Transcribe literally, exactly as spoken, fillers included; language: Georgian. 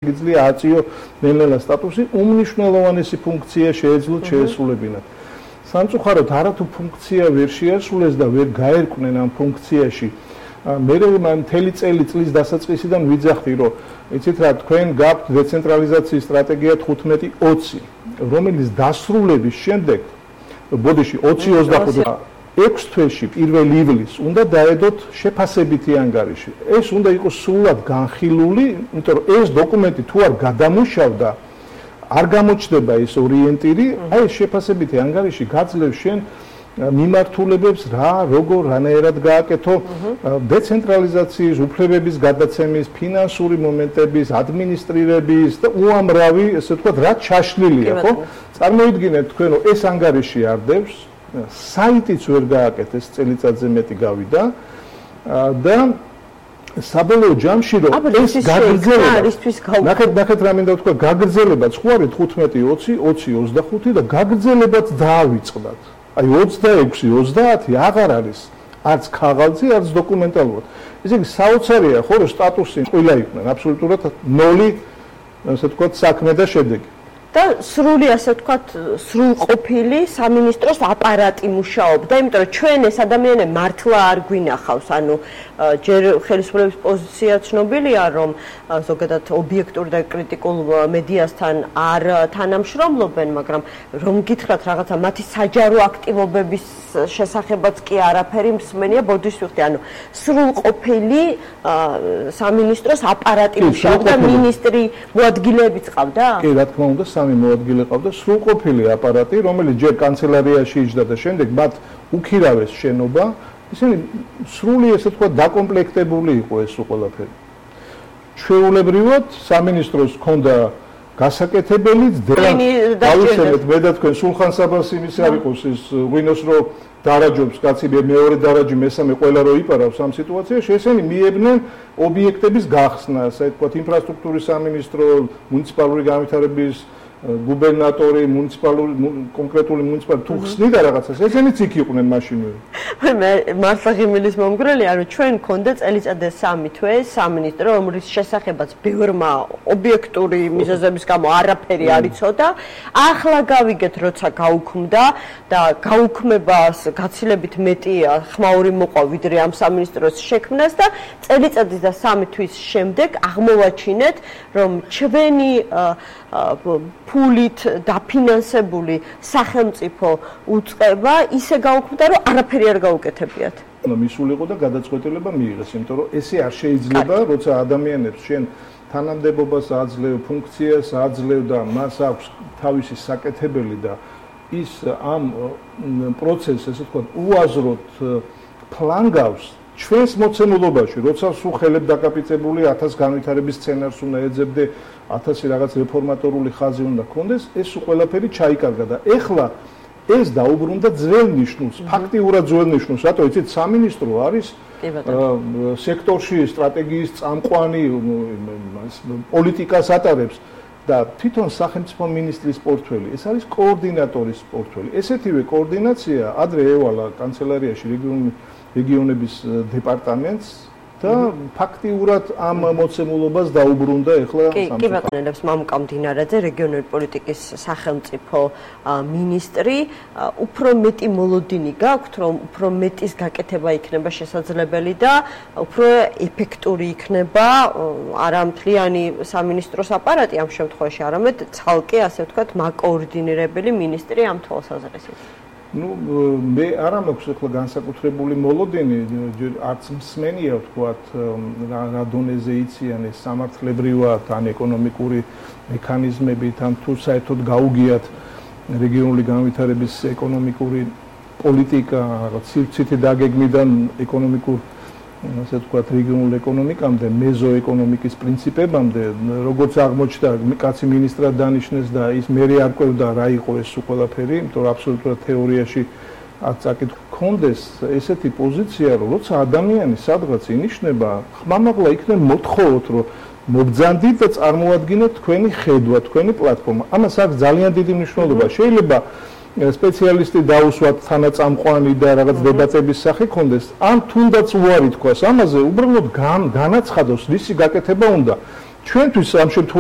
იძლია აწიო ნელ-ნელა სტატუსი, უმნიშვნელოვანესი ფუნქცია შეეძლოთ შეესრულებინათ. სამწუხაროდ არათუ ფუნქცია ვერ შეასრულეს და ვერ გაერკვნენ ამ ფუნქციაში. მე მთელი წელი წლის დასაწყისიდან ვიძახდი, რომ იცით რა, თქვენ გაქვთ დეცენტრალიზაციის სტრატეგია თხუთმეტი ოცი, რომელიც დასრულების შემდეგ, ბოდიში ოცი ოცდახუთი ექვს თვეში პირველ ივლისს უნდა დაედოთ შეფასებითი ანგარიში. ეს უნდა იყოს სრულად განხილული, იმიტომ რომ ეს დოკუმენტი თუ არ გადამუშავდა, არ გამოჩნდება ეს ორიენტირი, აი ეს შეფასებითი ანგარიში გაძლევს შენ მიმართულებებს რა, როგორ, რანაირად გააკეთო დეცენტრალიზაციის, უფლებების გადაცემის, ფინანსური მომენტების, ადმინისტრირების და უამრავი, ესე ვთქვათ, რა ჩაშლილია, ხო? წარმოიდგინეთ თქვენ, რომ ეს ანგარიში არ დევს, საიტიც ვერ გააკეთეს, წელიწადზე მეტი გავიდა და საბოლოო ჯამში რომ ეს გაგრძელება ნახეთ ნახეთ რა მინდა ვთქვა, გაგრძელებაც ხო არის თხუთმეტი ოცი ოცი ოცდახუთი და გაგრძელებაც დაავიწყდათ. აი ოცდაექვსი ოცდაათი აღარ არის არც ქაღალდზე, არც დოკუმენტალურად. ესე იგი საოცარია ხო, რომ სტატუსი ყველა იყვნენ აბსოლუტურად ნოლი, ასე ვთქვათ, საქმე და შედეგი. და სრული, ასე ვთქვათ, სრულყოფილი სამინისტროს აპარატი მუშაობდა, იმიტომ რომ ჩვენ ეს ადამიანები მართლა არ გვინახავს, ანუ ჯერ ხელისუფლების პოზიცია ცნობილია, რომ ზოგადად ობიექტურ და კრიტიკულ მედიასთან არ თანამშრომლობენ, მაგრამ რომ გითხრათ რაღაცა მათი საჯარო აქტივობების შესახებაც კი არაფერი მსმენია, ბოდიშ ვიხდი, ანუ სრულყოფილი სამინისტროს აპარატი მუშაობდა, მინისტრი მოადგილეებიც ყავდა? კი, რა თქმა უნდა, სამი მოადგილე ყავდა, სრულყოფილი აპარატი, რომელიც ჯერ კანცელარიაში იჯდა და შემდეგ მათ უქირავეს შენობა, ისინი სრული, ესე ვთქვათ, დაკომპლექტებული იყო ეს ყველაფერი. ჩვეულებრივად სამინისტროს ჰქონდა გასაკეთებელიც, დავისწრებთ მე და თქვენ სულხან საბას იმის არ იყოს ის ღვინოს რო დარაჯობს კაცი მეორე დარაჯი მესამე ყველა რო იპარავს ამ სიტუაციაში, ესენი მიებდნენ ობიექტების გახსნას, ასე ვთქვათ, ინფრასტრუქტურის სამინისტრო, მუნიციპალური განვითარების გუბერნატორი, მუნიციპალური კონკრეტული მუნიციპალური თუ ხსნიდა რაღაცას, ესენიც იქ იყვნენ მაშინვე. მე მართლა ღიმილის მომგვრელია, რომ ჩვენ გქონდა წელიწადზე სამი თვე სამინისტრო, რომლის შესახებაც ბევრმა ობიექტური მიზეზების გამო არაფერი არ იცოდა. ახლა გავიგეთ, როცა გაუქმდა და გაუქმებას გაცილებით მეტი ხმაური მოყვა, ვიდრე ამ სამინისტროს შექმნას და წელიწადის და სამი თვის შემდეგ აღმოვაჩინეთ, რომ ჩვენი ფულით დაფინანსებული სახელმწიფო უწყება ისე გაუქმდა, რომ არაფერი არ გაუკეთებიათ. მისულიყო და გადაწყვეტილება მიიღეს, იმიტომ რომ ესე არ შეიძლება, როცა ადამიანებს შენ თანამდებობას აძლევ, ფუნქციას აძლევ და მას აქვს თავისი საკეთებელი და ის ამ პროცესს, ესე ვთქვათ, უაზროდ ფლანგავს ჩვენს მოცემულობაში, როცა სულ ხელებ დაკაპიტებული ათას განვითარების სცენარს უნდა ეძებდე, ათასი რაღაც რეფორმატორული ხაზი უნდა ქონდეს, ეს ყველაფერი ჩაიკარგა და ეხლა ეს დაუბრუნდა ძველ ნიშნულს, ფაქტიურად ძველ ნიშნულს, რატო იცით, სამინისტრო არის სექტორში სტრატეგიის წამყვანი, პოლიტიკას ატარებს და თვითონ სახელმწიფო მინისტრის პორტფელი, ეს არის კოორდინატორის პორტფელი. ესეთივე კოორდინაცია ადრე ევალა კანცელარიაში რეგიონების დეპარტამენტს და ფაქტიურად ამ მოცემულობას დაუბრუნდა ეხლა სამწუხაროდ. კი, კი ბატონელებს მამუკა მდინარაძე, რეგიონული პოლიტიკის სახელმწიფო მინისტრი, უფრო მეტი მოლოდინი გაქვთ, რომ უფრო მეტის გაკეთება იქნება შესაძლებელი და უფრო ეფექტური იქნება არა მთლიანი სამინისტროს აპარატი ამ შემთხვევაში, არამედ ცალკე, ასე ვთქვათ, მაკოორდინირებელი მინისტრი ამ თვალსაზრისით. ну მე არ მაქვს ახლა განსაკუთრებული მოლოდინი, არც მსმენია ვთქვათ, რა დონეზე იციან ეს სამართლებრივად ან ეკონომიკური მექანიზმებით, ან თუ საერთოდ გაუგიათ რეგიონული განვითარების ეკონომიკური პოლიტიკა, რაღაც სივრცითი დაგეგმიდან ეკონომიკურ, ასე ვთქვათ, რეგიონულ ეკონომიკამდე, მეზოეკონომიკის პრინციპებამდე, როგორც აღმოჩნდა, კაცი მინისტრად დანიშნეს და ის მერე არ ყვევდა რა იყო ეს ყველაფერი, იმიტომ რომ აბსოლუტურად თეორიაში არ წაკითხ კონდეს ესეთი პოზიცია, რომ როცა ადამიანი სადღაც ინიშნება, ხმამაღლა იქნებ მოთხოვოთ, რომ მობძანდით და წარმოადგინოთ თქვენი ხედვა, თქვენი პლატფორმა. ამას აქვს ძალიან დიდი მნიშვნელობა. შეიძლება სპეციალისტი დაუსვათ თანაწამყვანი და რაღაც დებატების სახე კონდეს, ან თუნდაც უარი თქვას ამაზე, უბრალოდ განაცხადოს, რისი გაკეთება უნდა. ჩვენთვის ამ შემთხვევაში